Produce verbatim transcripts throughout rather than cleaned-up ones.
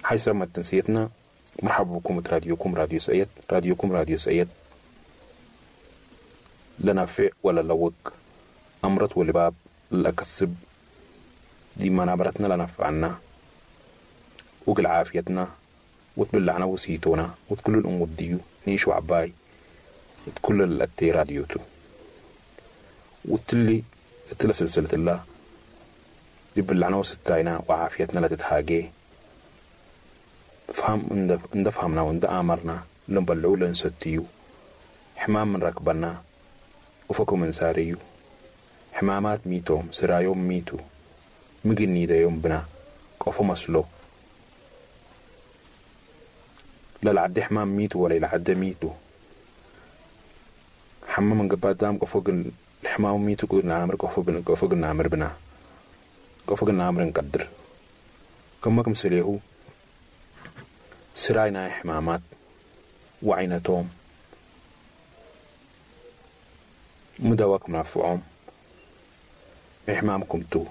حيث ما تنسيتنا، مرحبا بكم راديوكم راديو سأيت، راديوكم راديو سأيت لا نافع ولا لوق أمرت ولباب لأكسب دي منابرتنا لا نفعنا وقل عافيتنا وتبلعنا وسيتونا وتكل الأم ديو نيش وعباي وتكل الأتي راديوتو وتلي تلا سلسلة الله دي بلعنا وستاينا وعافيتنا لا تتهاجي فهم اند فهمنا وند آمرنا لنبلعو لنستيو حمام من ركبنا وفكو من ساريو حمامات ميتوم سرايوم ميتو مجني دا يوم بنا قفو مسلو لا العد حمام ميتو ولا العد ميتو حمام من قباد دام قفو الحمام ميتو قلنا عامر قفو بنا قفو قلنا عامر بنا قفو قلنا عامر نقدر كما كم سليهو سراينا حمامات وعينتهم مدواكم نافعهم إحمامكم تو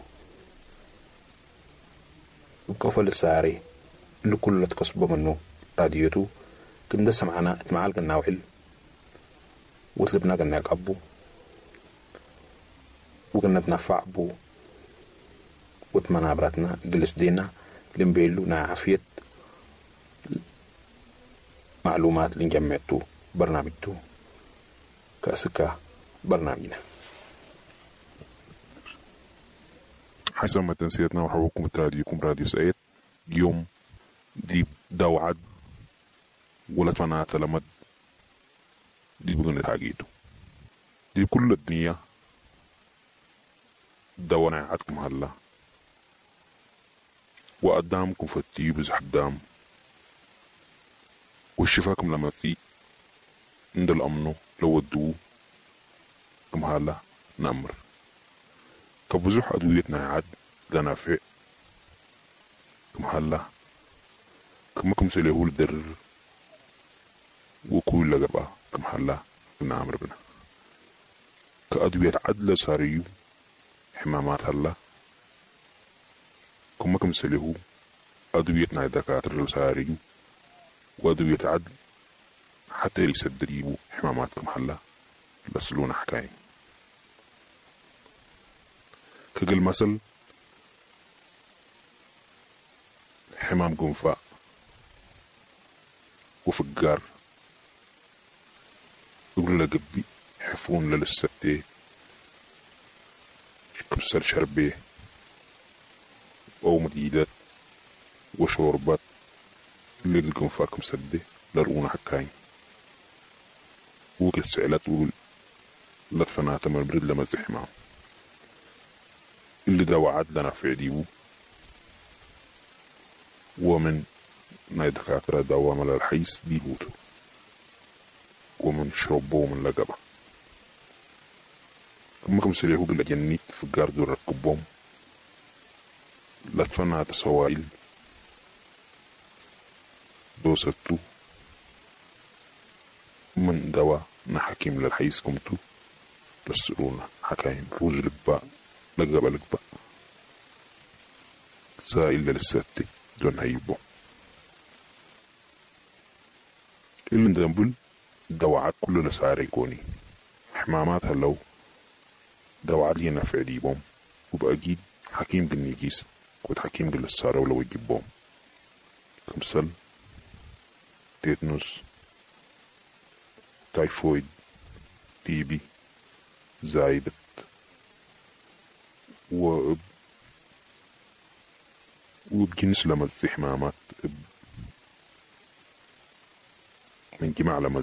وكفل الساري اللي كل تقصبه منه راديوتو كندا سمعنا اتمعال قلنا وحل وطلبنا قلنا قبو وقلنا تنفع بو وتمنابرتنا جلس دينا لنبيلو نعافية معلومات اللي جمعتو برنامجتو كأسكا برنامجنا. حسب ما تنسيتنا وحبكم راديوكم راديو سعيد يوم دي دوعد ولا تفنات لمد دي بغنى حاجيتو دي كل الدنيا دوانا عدكم هلا وقدامكم فتي بزح دام والشفاكم لما تي عند الأمنو لو ودوه كم هلا نأمر كبزح أدويتنا عاد لنافع كم هلا كم كم سليه الدر وكل لقبة كم هلا نعمر بنا كأدوية عدل ساريو حمامات هلا كم كم سليه أدويتنا دكاترة ساريو وأدوية عدل حتى يسدريبو حمامات كم هلا لسلونا حكاية كقل مثل حمام قنفاء وفقار يقول لقبي حفون للستي كبسر شربيه أو مديدات وشوربات اللي القنفاء كمسدي لرؤونا حكاين وكل سعلات وقل لطفناتا من برد لما زحمام اللي دا وعد لنا في ديبو ومن ناي دكاترة دوا مال الحيس ديبوتو ومن شربو ومن لقبة كما كم سليهو قل جنيت فقار دور ركبهم لطفناتا سوائل دوستو من دوا نحكيم للحيس كمتو لسرونا حكايم روج لقبا لقبا لقبا سائل للستي دون هيبو اللي ندنبل دواعات كل لساري كوني حمامات هلو دواعات لينا في عديبهم وبأجيد حكيم قلنيكيس كنت حكيم قل السارة ولو يجيبهم كمسل تيتنوس تايفويد تيبي زايدة و وبجنس لما حمامات من جماع لما